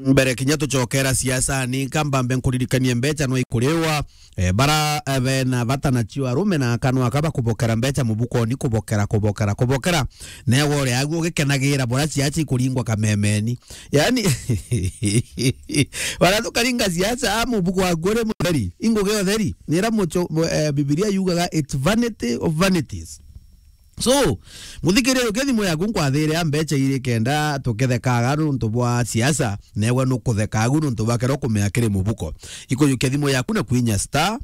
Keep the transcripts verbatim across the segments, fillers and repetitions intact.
Mbere kinya tucokera siasani, kambambe nkuririkanie mbeca no ikuriwa. Eh, bara, eh, bena bata nacio arume na akanwa aka bakubokera mbeca mubukoni, kubokera, kubokera, kubokera. Newe uri agu ugikenagira bora siasa ikuringwa kamemeni. Yani, bara tukaringa siasa, a mubuko waku uri mutheri, ingugi utheri. Nira mucho, eh, Bibilia yugaga, "It's vanity of vanities." So, muthikiriria, ukia thimu yaku nkwathire a mbeca iri kenda tukethekaga nuntu bwa siasa, newe nukuthekagu nuntu bwa kero kumea kiri mubuko. Ikuyukia thimu yaku na kwinya star,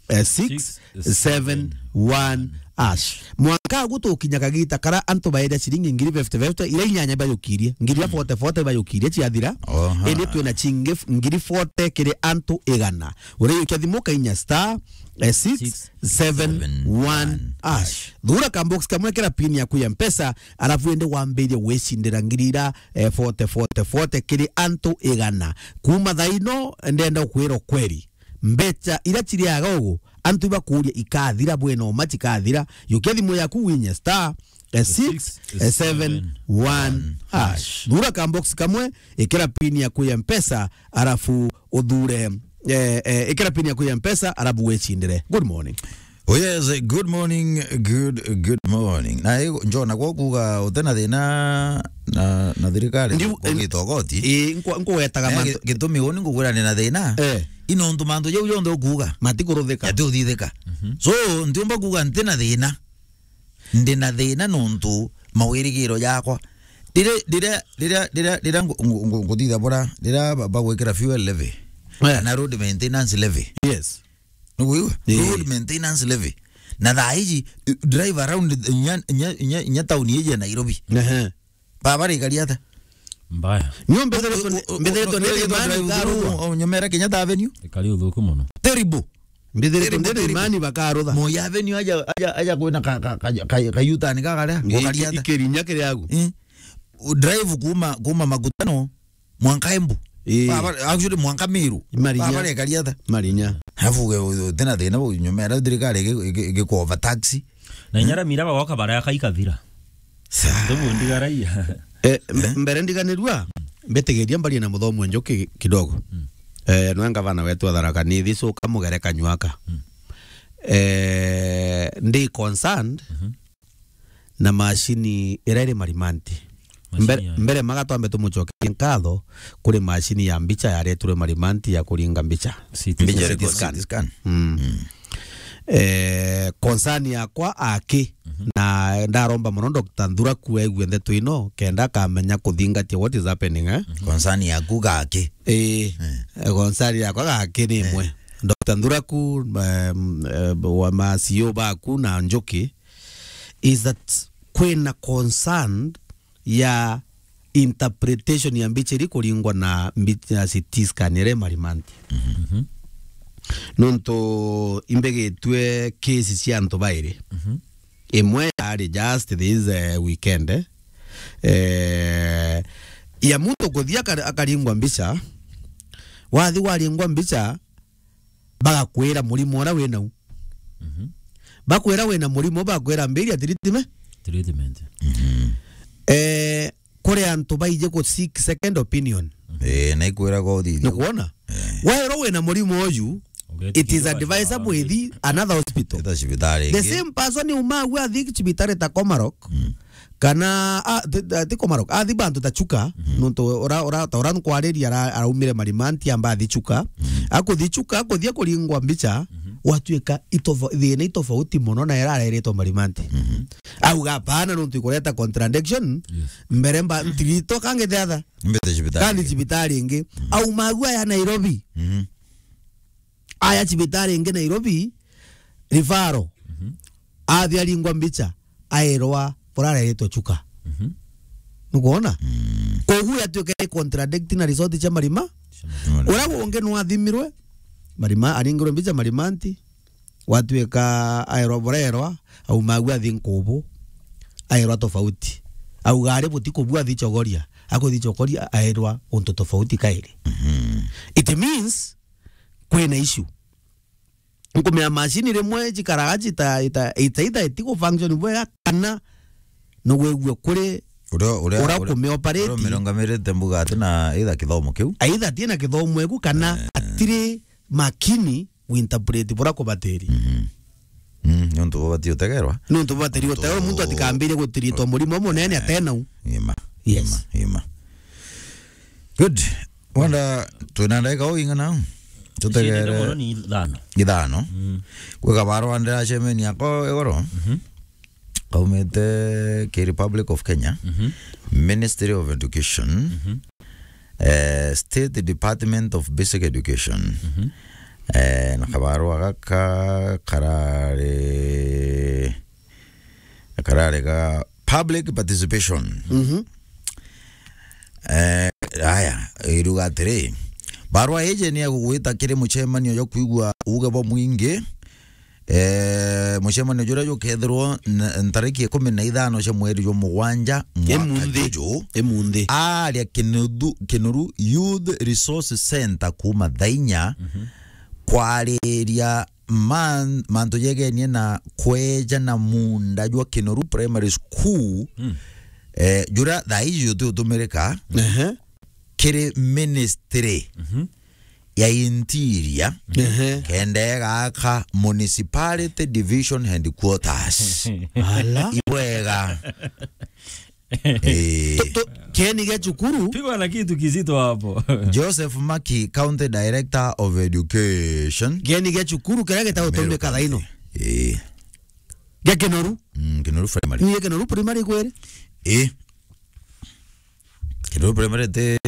eh, six seven one hash. Mwanka agu tukinya kagita kara antu baire ciringi ngiri fifty fifty, ira inyanya bayukirie, ngiri ya forty forty bayukirie ciathira. Oha. Indi twina cingi f-, ngiri forty kiri antu igana. Uriyukia thimu kainya star, eh, six seven one hash. Thura ka box kamwe, kira pin yaku ya Mpesa, alafu ende wambirie gwicindira ngiri ira, eh, forty, forty, forty kiri antu igana. Kuma thaa ino, ndenda ukwira ukweri. Mbeca ira ciriaga ugu, antu ibakuria ikathira, bwena uma cikathira. Yukia thimu yaku winye star, eh, six seven one hash. Thura ka box kamwe, ikira pin yaku ya Mpesa, alafu uthure, eh, eh, ikira pin yaku ya Mpesa, alafu wicindire. Good morning. Oh yes, good morning, good, good morning. Na i-, njona gwa kuga utena thina na, na thirikari, Ndiu-, kugita ugoti. Ii, nkwa-, nkuwetaga Eh, mantu gi-, gitumi uni ngugwira ni na thina. Eh. Ino ntu mantu jau jonthe ukuga. Matikuruthika. Yati uthithika. Mhm. So, ntiumba kuga ntina thina. Ndi na thina nontu mawirigiro jakwa. Riria, riria, riria, riria, riria ngu-, ngu-, ngu-, nguthitha bura, riria ba-, bagwikira fuel levy, Eh. kana road maintenance levy. Yes. Nuguigua? Eh. Road maintenance levy. Na thaa iji, eh, drive around nya, nya, nya, nya town iji ya Nairobi. Ehe. Barabara ikari ata? Mbaya. Nio mbethiritwe ni, u-, u-, mbethiritwe ni drive imani through, karua. U-, u-, nyumera Kenyatta Avenue. Ikari uthuku muno. Terrible. Mbithiritwe Terrible, ndi terrible. Imani bakarutha. Moi Avenue aja, aja, aja kwina ka, ka, ka, ka, ka U-turn kakaria, Ngi-, gukari ata? Ikirinya kiri agu. Eh. U-, drive kuma, kuma Makutano, mwanka Embu. Ii. Barabara, actually, mwanka Meru. Marinya. Barabara ikari ata? Marinya. Alafu uge, u-, utena thina u-, nyumera thirikari igi-, igi-, igikuover taxi. Na inya Ramira bagoka baraka ikathira. Sa- Ndugu ndigaraia. Eh, mbe-, Eh? mbere ndiganirua, mbitigiria mbarie na Muthomi Njuki kidogo. Mm. Eh, nwe ngavana wetu wa Tharaka Nithi, so kamugere kanywaka. Mm. Eh, ndi concerned Mhm. na macini ira iri Marimanti. Macini Mbere, ya mbere maga twambe tumucokerie nkatho kuri macini ya mbica yaretirwe Marimanti ya kuringa mbica. C T Mbica scan. Iri C T ku scan. C T scan. Mm. Mm. Eh, concern yakwa aki, Mhm. na ndaromba mono Doctor Nthuraku aigue ndeto ino, kenda akamenya kuthingatia what is happening, eh? Mhm. Concern yaku gaki. Eh, Eh. eh, concern yakwa gaki ni Eh. imwe. Doctor Nthuraku, em, eh, wa ma C E O baku na Njuki, is that kwina concern ya interpretation ya mbica iri kuringwa na mbi-, ya C T scan iri Marimanti. Mhm. Nontu imbigitue case cia antu bairi. Mhm. Imwe yari just this, eh, weekend, eh, ya muntu kuthia akar-, akaringwa mbica. Wathi waringwa mbica, bagakwira murimo uria wi nau. Mhm. Bakwira wina murimo, bakwira mbiria treatment. Treatment. Mhm. Eh, kuri antu baije ku seek second opinion. Eh, na ikwira go thithio. Nukwona? Eh. Wairwo wina murimo uyu, Ugetikirwa it is advisable ithi another hospital. Eta cibitari The ingi. Same person umagu athi cibitari ta Komarok. Mm. Kana, a, ti, ti, ti Komarok, athi bantu ta Chuka, Mhm. nontu ura, ura, ta ura nkwariria ara-, araumire Marimanti amba athi Chuka. Mhm. Akuthi Chuka, akuthia kuringwa mbica, Mhm. watuika itofo-, thina itofauti mono na ira areretwo Marimanti. Mhm. Auga, "Hapana, nontu ikureta contradiction, Yes. mbere mba, ntirito kangi thiatha." Mbete cibitari Kandi ingi. Cibitari ingi. Mhm. Aumagu aya Nairobi. Mhm. Aya cibitari ingi Nairobi, referral. Mhm. Athi aringwa mbica, airwa bura areretwe Chuka. Mhm. Nukwona? Mm. Koguo yatuika i contradict na result cia Marima. Cia Marima. Uria ungi nwathimirwe, Marima, aringirwe mbica Marimanti, watuika airwa bura airwa, aumagu athi Nkubu, airwa tofauti. Auga ari buti kubua athi Chogoria, akuthi Chogoria airwa untu tofauti kairi. Mhm. It means, kwina issue. Nkumenya macini rimwe cikaraga cita-, ita-, ita-, ita-, itigu function bwega kana nugwigua kuri Uria, uria, uria uria, kumioperate. Uria umirungamirite mbuga ati na either kithomo kiu. Either ati na kithomo eku kana atiri makini winterpret bura kubatiri. Mhm. Mm, nontu bubati utegerwa. Nontu bubati utegerwa, muntu atikambirie gutiritwa murimo munene atenau. Ima. Yes. Ima, ima. Good. Wanda twina ndagika o ing'ana? Tutegere. Icindite mono ni ithano. Ithano. Mm. Gwika barwa ndira cemeni yako igoro. Mhm. Kaumite ki Republic of Kenya. Mhm. Ministry of Education. Mhm. Eh, State Department of Basic Education. Mhm. Eh, na kabarwa gaka karari, karari ga public participation. Mhm. Eh, aya, iruga atiri, barwa iji ni egugwita kiri mucemanio jwa kwigua uge bwa mwingi. Eh, mucemanio juria jukethirwo n-, ntariki ikumi na ithano cia mweri jwa mugwanja mwaka juju. Imunthi. Aria Kinoru, Kinoru Youth Resource Center kuuma thaa inya, mhm, kwariria man-, mantu jegenie na kweja na muunda jwa Kinoru Primary School, mm, eh, juria thaa iji juti utumirika, ehe, kiri ministry, mhm, ya interior, ehe, kenda egaka municipality division headquarters. Ala. Ibwega. Eh. Tu-, tu-, kieni gia cukuru. Pigwa na kitu kizito hapo. Joseph Maki, County Director of Education. Kieni gia cukuru kiria gitagutumika thaa ino. Eh. Gia Kinoru. Mm, Kinoru Primary. Ni Kinoru Primary kweri? Eh. Kinoru Primary te,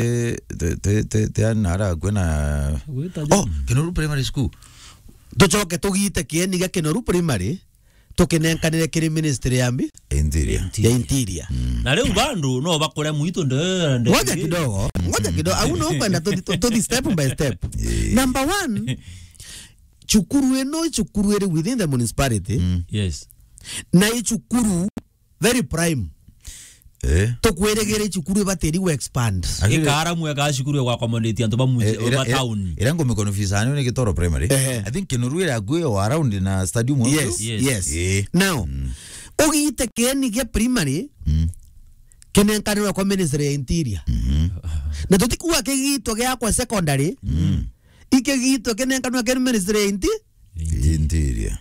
te, te, te, te ana ara kwena. Gwita, oh, Kinoru Primary School. Tucoke tugite kieni gia Kinoru Primary, tukinenkanire kiri ministry ya mbi? Interior. Ya interior. Mm. Na riu bandu no bakure mwitu nde, nde. Ngoja kidogo, ngoja kidogo. Au no kwenda tuthi, tu-, tuthi step by step. Eh. Number one, cukuru ino, cukuru iri within the municipality. Mm. Yes. Na i cukuru very prime. Eh. Tukwirigire cukuru ibatiri gu expand. Actually, ikaara mwega cukuru ya accommodate antu ba muji, eh, ira, ba ira, town. Ira ngumi confuse ani ni Gitoro Primary. Ehe. I think Kinoru ira akui o around na stadium. Yes, yes. Yes. Eh. Now, mm, ugite kieni gia primary, mm, kinenkanirwa kwa ministry ya interior. Mhm. Na tutikuwa kigitwa giakwa secondary. Mm. Ikigitwa kinenkanirwa kiri ministry ya inti-, interior.